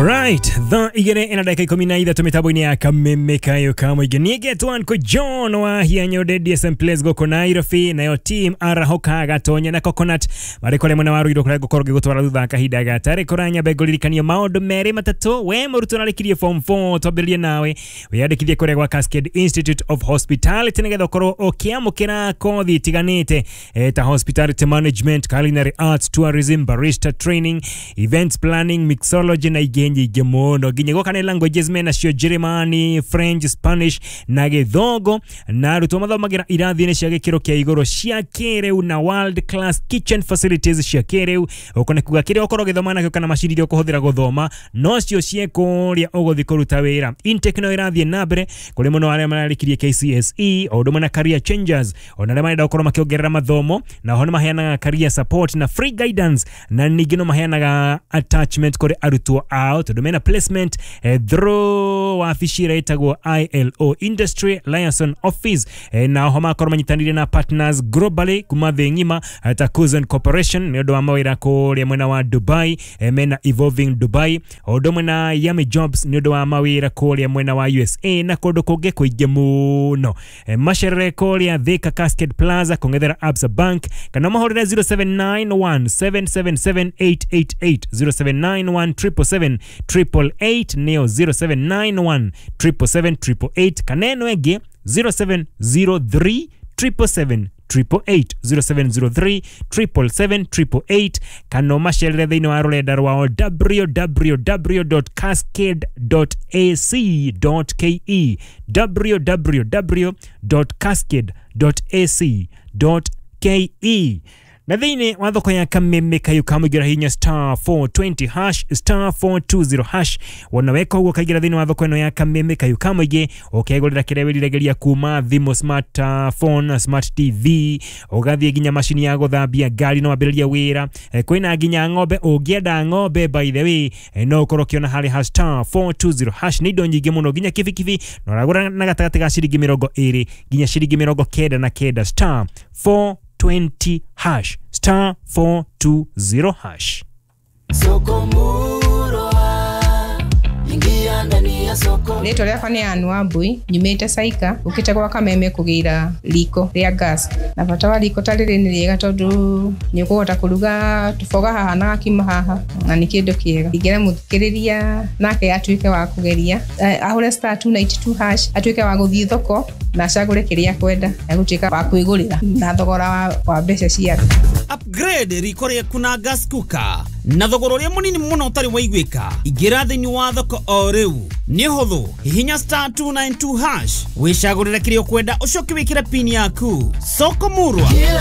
Alright, thaa igĩrĩ na ndagĩka 13 mĩtambo-inĩ ya Kameme Kayo ka Mũingĩ. Niĩ ngetwo Uncle John wa Hianyode DSM Place gũkũ Nairobi, nayo team Arahoka Gatonya na Coconut marĩ kũrĩa mwena wa Ruiru kũrĩa ngũkorwo ngĩgũtwara thutha wa kahinda gatarĩ kũranyambe ngũririkanie maũndũ merĩ matatũ. We mũrutwo ũrarĩkirie form 4, twambĩrĩrie nawe wĩyandĩkithie kũrĩa gwa Cascade Institute of Hospitality nĩgetha ũkorwo ũkĩamũkĩra kothi itiganĩte ta hospitality management, culinary arts, tourism, barista training, events planning, mixology na ingĩ nyingĩ mũno, nginya gũka nĩ languages menacio Germany, French, Spanish na Gĩthũngũ. Na arutwo mathomagĩra irathi-inĩ cia gĩkĩro kĩa igũrũ cia kĩrĩu na world class kitchen facilities cia kĩrĩu. Ũko nĩ kuga kĩrĩa ũkorwo ũgĩthoma nakĩo kana macini iria ũkũhũthĩra gũthoma nocio ciĩ kũrĩa ũgũthiĩ kũruta wĩra. Intake no ĩrathiĩ na mbere kũrĩ mũno arĩa mararĩkirie KCSE o ũndũ ũmwe na career changers, ona arĩa marenda gũkorwo makĩongerera mathomo, na oho nĩ maheanaga career support na free guidance, na ningĩ no maheanaga attachment kũrĩ arutwo ao tondũ mena placement through wabici ĩrĩa ĩtagwo ILO, Industry Liaison Office, na oho magakorwo manyitanĩire na partners globally kuma thĩ ng'ima, ta Cousin Corporation nĩ ũndũ wa mawĩra kũrĩa mwena wa Dubai, mena Evolving Dubai, o ũndũ ũmwe na Yummy Jobs nĩ ũndũ wa mawĩra kũrĩa mwena wa USA na kũndũ kũngĩ kũingĩ mũno. Macerere kũrĩa Thika Cascade Plaza kũng'ethera Absa Bank, kana mahũrĩre 0791 777 888, 0791 777 888, nĩyo 0791 777 888, kana ĩno ĩngĩ 0703 777 888, 0703 777 888, kana ũmacerere thĩinĩ wa rũrenda rwao www.cascade.ac.ke, www.cascade.ac.ke. Na thĩinĩ wa thoko ya Kameme Kayo ka Mũingĩ hinya star 420 hash, star 420 hash. Wona weka ũguo kaingĩra thĩinĩ wa thoko ĩno ya Kameme Kayo ka Mũingĩ, ũkegũrĩra kĩrĩa wĩriragĩria kuma thimũ, smart phone, smart TV, ũgathiĩ nginya macini ya gũthambia ngari no wambĩrĩrie wĩra. Kwĩna nginya ng'ombe, ũngĩenda ng'ombe by the way, no ũkorwo ũkĩona harĩ ha star 420 hash. Nĩ indo nyingĩ mũno, nginya kibikibi na ũragũra na gatagatĩ ga ciringi 20 nginya ciringi 99, star 420 hash, star 420 hash. Soko Murwa, ingia ndani ya soko. Rĩtwa rĩakwa nĩ Ann Wambui, nyumĩte Saika, ũkĩte gwa Kameme kũgĩra riko rĩa gas. Na bata wa riko ta rĩrĩ nĩ rĩega tondũ nĩ ũkũhota kũruga tũboga haha na gakima haha, na nĩ kĩndũ kĩega. Ingĩra mũthikĩrĩria nake atuĩke wa kũgeria, ahũre star 292 hash, atuĩke wa gũthiĩ thoko na acagũre kĩrĩa akwenda, egũtuĩka wa kwĩgũrĩra na thogora wa mbeca ciake. Upgrade riko rĩaku na gas cooker na thogora ũrĩa mũnini mũno ũtarĩ waiguĩka. Ingĩra thĩinĩ wa thoko o rĩu, nĩ ũhũthũ, hihinya star 292 hash, wĩcagũrĩre kĩrĩa ũkwenda, ũcoke wĩkĩre pin yaku. Soko Murwa. Kila